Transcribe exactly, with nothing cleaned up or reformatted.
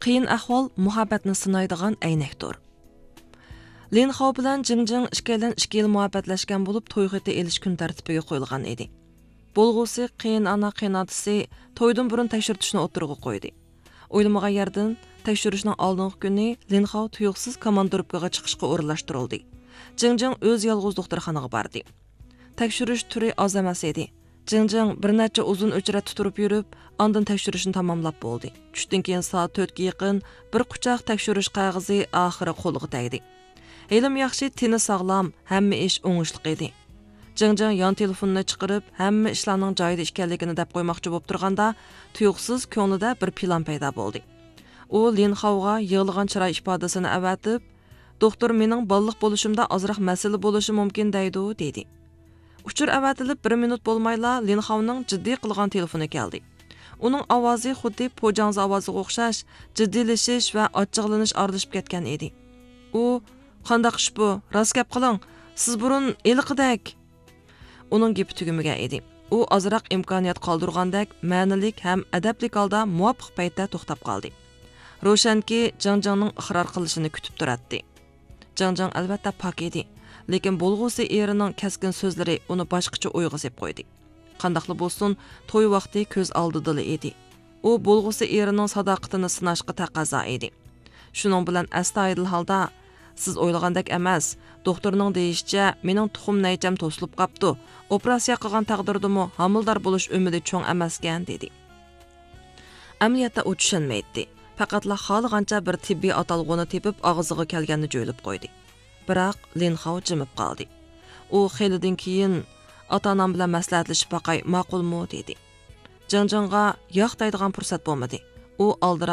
قىيىن ئەھۋال مۇھەببەتنى سىنايدىغان ئەينەكتۇر. لىن خاۋ بىلەن جىڭ جىڭ ئىككىيلەن ئىككى يىل مۇھەببەتلەشكەن بولۇپ، توي خېتى ئېلىش كۈن تەرتىپىگە قويۇلغان ئىدى. بولغۇسى قېيىنئانا قېيىنئاتىسى تويدىن بۇرۇن تەكشۈرتۈشنى ئوتتۇرىغا قويدى. ئويلىمىغان يەردىن، تەكشۈرۈشنىڭ ئالدىنقى كۈنى لىن خاۋ تۇيۇقسىز كوماندىروپكىغا چىقىشقا ئورۇنلاشتۇرۇلدى. جىڭ جىڭ ئۆزى يالغۇز دوختۇرخانىغا باردى. تەكشۈرۈش تۈرى ئاز ئەمەس ئىدى. جىڭ جىڭ بىر نەچچە ئۇزۇن ئۆچرەتتە تۇرۇپ يۈرۈپ، ئاندىن تەكشۈرۈشنى تاماملاپ بولدى. چۈشتىن كېيىن سائەت تۆتكە يېقىن بىر قۇچاق تەكشۈرۈش قەغىزى ئاخىرى قولىغا تەگدى. ھېلىمۇ ياخشى، تېنى ساغلام، ھەممە ئىش ئوڭۇشلۇق ئىدى. جىڭ جىڭ يان تېلېفونىنى چىقىرىپ، ھەممە ئىشلارنىڭ جايىدا ئىكەنلىكىنى دەپ قويماقچى بولۇپ تۇرغاندا، تۇيۇقسىز كۆڭلىدە بىر پىلان پەيدا بولدى. ئۇ لىن خاۋغا يىغلىغان چىراي ئىپادىسىنى ئەۋەتىپ، «دوختۇر مېنىڭ بالىلىق بولۇشۇمدا ئازراق مەسىلە بولۇشى مۇمكىن» دەيدۇ، دېدى. ئۇچۇر ئەۋەتىلىپ بىر مىنۇت بولمايلا لىن خاۋنىڭ جىددىي قىلغان تېلېفونى كەلدى. ئۇنىڭ ئاۋازى خۇددى پوجاڭزا ئاۋازىغا ئوخشاش، جىددىيلىشىش ۋە ئاچچىقلىنىش ئارىلىشىپ كەتكەن ئىدى. ئۇ، «قانداق ئىش بۇ؟ راست گەپ قىلىڭ. سىز بۇرۇن ھېلىقىدەك.» ئۇنىڭ گېپى تۈگىمىگەن ئىدى. ئۇ ئازراق ئىمكانىيەت قالدۇرغاندەك مەنىلىك ھەم ئەدەپلىك ھالدا مۇۋاپىق پەيتتە توختاپ قالدى. روشەنكى، جىڭ جىڭنىڭ ئىقرار قىلىشىنى كۈتۈپ تۇراتتى. جىڭ جىڭ ئەلۋەتتە پاك ئىدى، لېكىن بولغۇسى ئېرىنىڭ كەسكىن سۆزلىرى ئۇنى باشقىچە ئويغا سېلىپ قويدى. قانداقلا بولسۇن، توي ۋاقتى كۆز ئالدىدىلا ئىدى. ئۇ بولغۇسى ئېرىنىڭ ساداقىتىنى سىناشقا تەقەززا ئىدى. شۇنىڭ بىلەن ئەستايىدىل ھالدا، «سىز ئويلىغاندەك ئەمەس. دوختۇرنىڭ دېيىشىچە، مېنىڭ تۇخۇم نەيچەم توسۇلۇپ قاپتۇ. ئوپېراتسىيە قىلغان تەقدىردىمۇ ھامىلىدار بولۇش ئۈمىدى چوڭ ئەمەسكەن» دېدى. ئەمەلىيەتتە ئۇ چۈشەنمەيتتى. پەقەتلا خالىغانچە بىر تېببىي ئاتالغۇنى تېپىپ، ئاغزىغا كەلگەننى جۆيلۈپ قويدى. بىراق لىن خاۋ جىمىپ قالدى. ئۇ خېلىدىن كېيىن، «ئاتا-ئانام بىلەن مەسلىھەتلىشىپ باقاي، ماقۇلمۇ؟» دېدى. جىڭ جىڭغا ياق دەيدىغان پۇرسەت بولمىدى. ئۇ ئالدىراپ